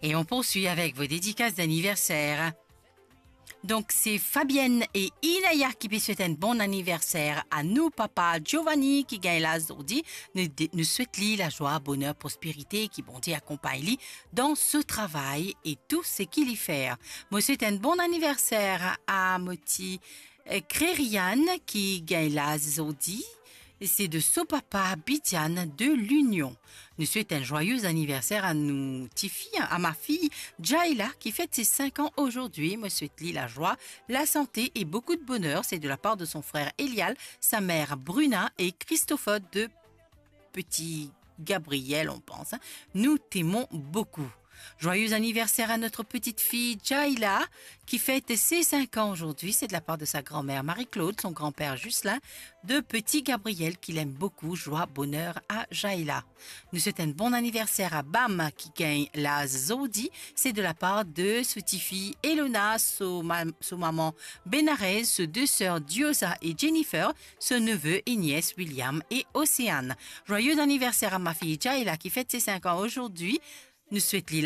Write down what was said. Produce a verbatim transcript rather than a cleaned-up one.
Et on poursuit avec vos dédicaces d'anniversaire. Donk, se Fabienne e Inaya ki pe swet enn bon aniverser a nou papa Giovanni ki gagn laz zordi. Nou de-, nou swet li lazwa, boner, prosperite, ki Bondie akonpagn li dan so travay e tou seki li fer. Mo swet enn bon aniverser a mo ti, eh, Kreriane ki gagn laz zordi. Se de so papa Bidiane de Linion. Nou swet enn zwaye aniverser a nou tifi, a ma fille Jaila, qui fête ses cinq ans aujourd'hui. Mo swet li lazwa, lasante e boukou de boner. Se de la par de son frer Elial, sa mer Bruna e Christopher de petit Gabriel, on pense, hein. Nous t'aimons beaucoup. Joyeux anniversaire à notre petite fille Jaila, qui fête ses cinq ans aujourd'hui. C'est de la part de sa grand-mère Marie-Claude, son grand-père Ghislain, de petit Gabriel, qu'il aime beaucoup. Joie, bonheur à Jaila. Nou swet enn bon aniverser a Bam ki gagn laz zordi. Se de la par de so tifi Elona, so ma-, so mama Benarez, so de ser Diosa e Jennifer, so neve e nies William e Océane. Joyeux anniversaire à ma fille Jaila qui fête ses cinq ans aujourd'hui. Nou swet li